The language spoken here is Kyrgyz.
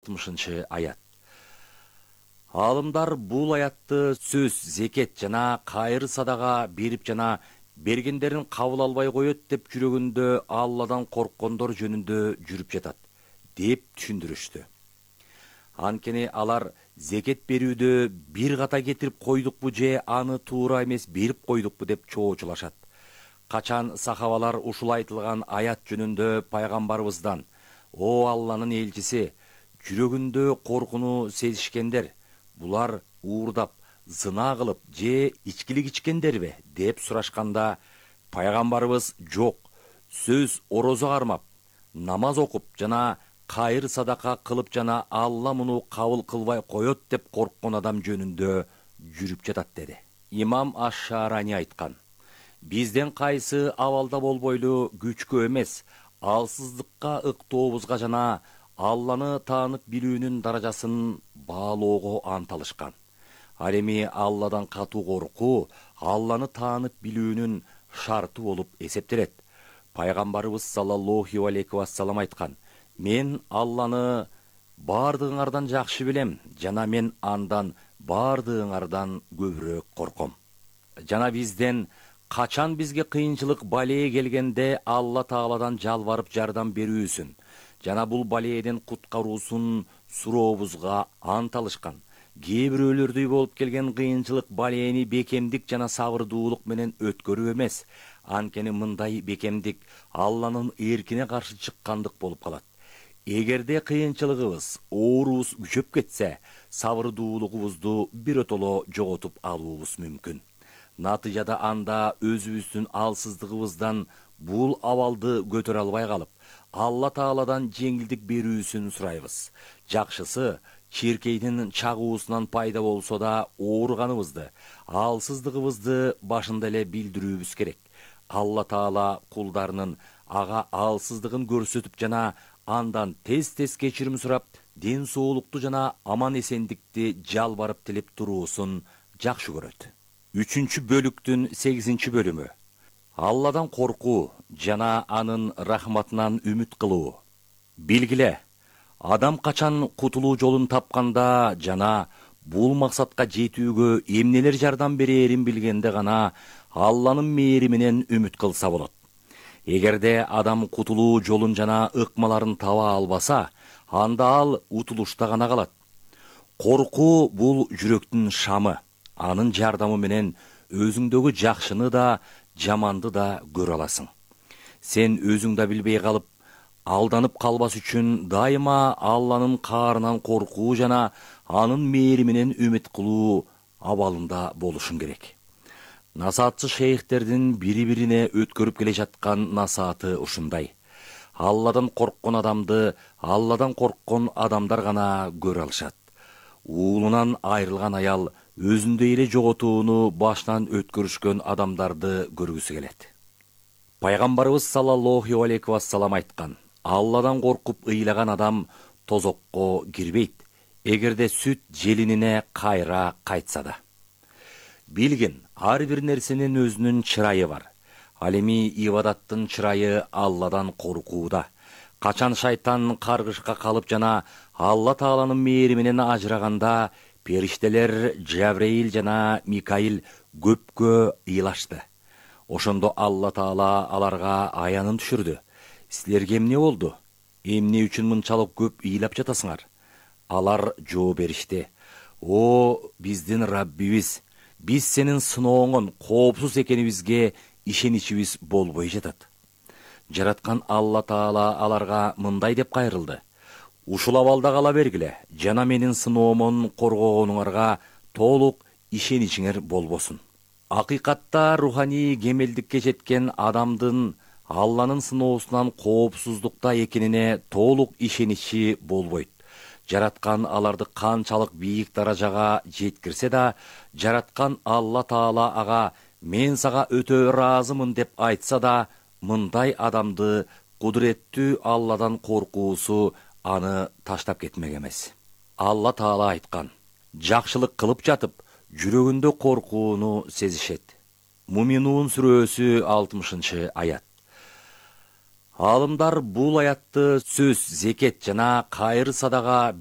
60-аят. Алымдар бул аятты сөз, зекет жана кайыр садага берип жана бергендерин кабыл албай коет деп жүрөгүндө Алладан корккондор жөнүндө жүрүп жатат деп түшүндүрүштү. Анткени алар зекет берүүдө бир ката кетирип койдукпу же аны туура эмес берип койдукпу деп чоочулашат. Качан сахабалар ушул айтылган аят жөнүндө пайгамбарыбыздан: "О Алланын элчиси, жүрөгүндө коркуну сезишкендер, булар уурдап, зына кылып же ичкилик ичкендерби?" деп сурашканда, пайгамбарыбыз: "Жок, сөз орозо кармап, намаз окуп жана кайыр садака кылып жана Алла муну кабыл кылбай коет деп корккон адам жөнүндө жүрүп жатат" деди. Имам Аш-Шаарани айткан: "Бизден кайсы абалда болбойлу күчкө эмес, алсыздыкка ыктообузга жана Алланы таанып билүүнүн даражасын баалоого анталышкан. Ал эми Алладан катуу коркуу Алланы таанып билүүнүн шарты болуп эсептелет. Пайгамбарыбыз саллаллаху алейхи вассалам айткан: "Мен Алланы бардыгыңардан жакшы билем жана мен андан бардыгыңардан көбүрөөк корком." Жана бизден качан бизге кыйынчылык балээ келгенде Алла Тааладан жалбарып жардам берүүсүн жана бул балээден куткаруусун сурообузга анталышкан. Кээ бирөөлөрдүй болуп келген кыйынчылык балээни бекемдик жана сабырдуулук менен өткөрүү эмес, анткени мындай бекемдик Алланын эркине каршы чыккандык болуп калат. Эгерде кыйынчылыгыбыз, ооруубуз күчөп кетсе, сабырдуулугубузду биротоло жоготуп алуубуз мүмкүн. Натыйжада анда өзүбүздүн алсыздыгыбыздан бул абалды көтөрө албай калып, Алла Тааладан жеңилдик берүүсүн сурайбыз. Жакшысы, чиркейдин чагуусунан пайда болсо да ооруганыбызды, алсыздыгыбызды башында эле билдирүүбүз керек. Алла Таала кулдарынын ага алсыздыгын көрсөтүп жана андан тез кечирим сурап, ден соолукту жана аман эсендикти жалбарып тилеп туруусун жакшы көрөт. 3-бөлүктүн 8-бөлүмү. Алладан коркуу жана анын рахматынан үмүт кылуу. Билгиле, адам качан кутулуу жолун тапканда жана бул максатка жетүүгө эмнелер жардам берээрин билгенде гана Алланын мээриминен үмүт кылса болот. Эгерде адам кутулуу жолун жана ыкмаларын таба албаса, анда ал утулушта гана калат. Коркуу бул жүрөктүн шамы. Анын жардамы менен өзүңдөгү жакшыны да, жаманды да көрө аласың. Сен өзүң да билбей калып, алданып калбас үчүн дайыма Алланын каарынан коркуу жана анын мээриминен үмүт кылуу абалында болушуң керек. Насаатчы шейхтердин бири-бирине өткөрүп келе жаткан насааты ушундай: Алладан корккон адамды Алладан корккон адамдар гана көрө алышат. Уулунан айрылган аял өзүндөй эле жоготууну башынан өткөрүшкөн адамдарды көргүсү келет. Пайгамбарыбыз саллаллаху алейхи вассалам айткан: "Алладан коркуп ыйлаган адам тозокко кирбейт, эгерде сүт желинине кайра кайтса да." Билгин, ар бир нерсенин өзүнүн чырайы бар. Ал эми ибадаттын чырайы Алладан коркууда. Качан шайтан каргышка калып жана Алла Тааланын мээриминен ажыраганда, периштелер Жабраил жана Микаил көпкө ыйлашты. Ошондо Алла Таала аларга аянын түшүрдү: "Силерге эмне болду? Эмне үчүн мынчалык көп ыйлап жатасыңар?" Алар жооп беришти: "О, биздин Раббибиз, биз сенин сынооңон коопсуз экенибизге ишеничибиз болбой жатат." Жараткан Алла Таала аларга мындай деп кайрылды: "Ушул абалда кала бергиле жана менин сыноомон коргогонуңарга толук ишеничиңер болбосун." Акыйкатта руханий кемелдикке жеткен адамдын Алланын сыноосунан коопсуздукта экенине толук ишеничи болбойт. Жараткан аларды канчалык бийик даражага жеткирсе да, жараткан Алла Таала ага "Мен сага өтө ыраазымын" деп айтса да, мындай адамды кудуреттүү Алладан коркуусу аны таштап кетмек эмес. Алла Таала айткан: "Жакшылык кылып жатып, жүрөгүндө коркууну сезишет." Муминун сүрөсү 60-аят. Аалымдар бул аятты сөз, зекет жана кайыр садага